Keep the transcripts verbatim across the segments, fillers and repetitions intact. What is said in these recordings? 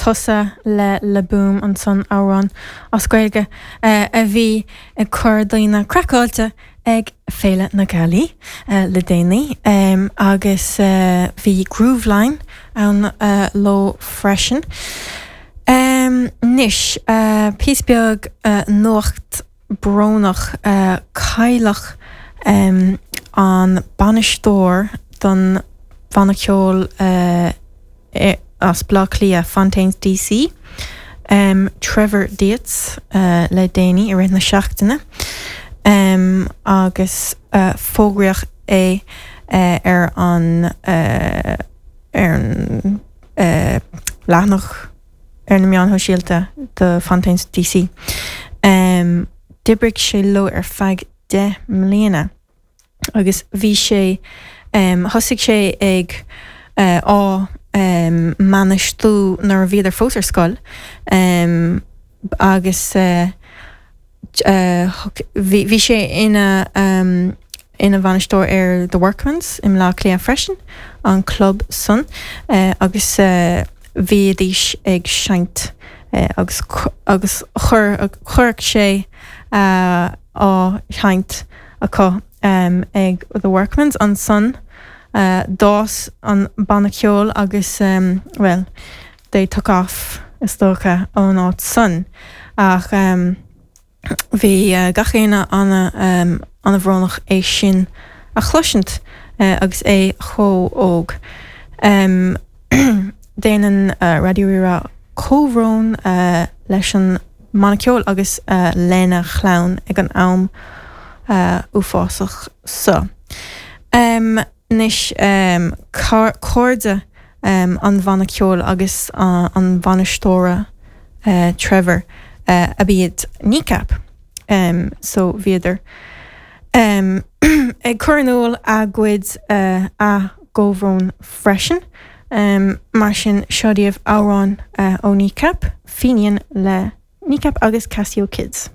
Tusa le Le Boom ansan amhrán as Gaeilge a bhí ag cur daoine craiceáilte ag Féile na Gealaí le déanaí agus bhí Grooveline ann leo freisin. Anois píosa beag nuacht brónach cailleadh an bainisteoir don bhanna ceoil as Baile Átha Cliath Fontaines DC, Trevor Dietz le déanaí i rith na seachtaine agus fógraíodh é ar an ar an leathanach ar na meáin shóisialta do Fontaines DC. D'oibrigh sé leo ar feadh deich mbliana agus bhí sé thosaigh sé ag á mbainistiú nuair a bhíodar fós ar scoil agus bhí sé ina ina bhainisteoir ar The Workman's i mBaile Átha Cliath freisin, an club san agus bhídís ag seinnt agus agus chuir chuirfeadh sé á sheinnt acu ag The Workman's ansan d'fhás an banna ceoil agus well they took off is dócha ón áit san ach bhí gach éinne ana an-bhrónach é sin a chloisint agus é chomh óg. Déanann Raidió Rí-Rá comhbhrón leis an mbanna ceoil agus lena chlann ag an am uafásach seo. Anois cairde an bhanna ceoil agus an bhainisteora Trevor ab iad Kneecap so bhíodar ag cur in iúl a gcuid a gcomhbhrón freisin mar sin seo daoibh amhrán ó Kneecap, Fenian le Kneecap agus Casio Kids.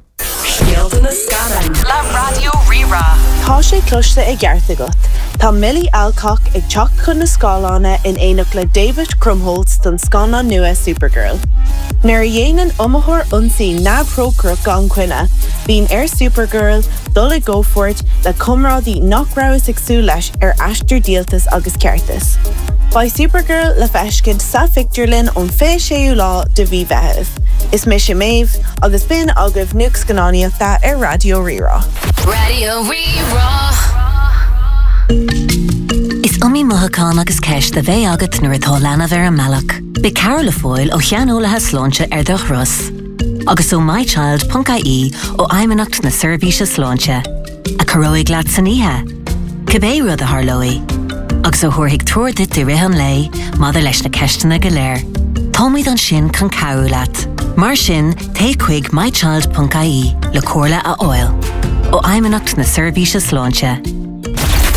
Scéalta na scannán le Raidió Rí-Rá. Tá sé cloiste i gceart agat. Tá Milly Alcock ag teacht chun na scáileáin in éineacht le David Krumholtz don scannán nua Supergirl. Nuair a dhéanann iomaitheoir ionsaí neamhthrócaireach gan choinne, bíonn ar Supergirl dul i gcomhpháirt le comrádaí nach rabhthas ag súil leis ar aistear díoltais agus ceartais. Beidh Supergirl le feiscint sa phictiúrlann ón fiche séú lá de mhí Mheithimh. Is mise Méabh agus b'in agaibh nuacht scannánaíochta ar Raidió Rí-Rá. Raidió Rí-Rá. Is iomaí mothúchán agus ceist a bheidh agat nuair atá leanbh ar an mbealach. Beidh cabhair le fáil ó shaineolaithe sláinte ar do thuras. Agus ó mychild.ie ó Fheidhmeannacht na Seirbhíse Sláinte, a chabhróidh leat san oíche. Cibé rud a tharlóidh, agus a thabharfaidh treoir duit i rith an lae maidir leis na ceisteanna go léir. Táimid ansin chun cabhrú leat. Mar sin téigh chuig mychild.ie le comhairle a fháil. Ó Fheidhmeannacht na Seirbhíse Sláinte.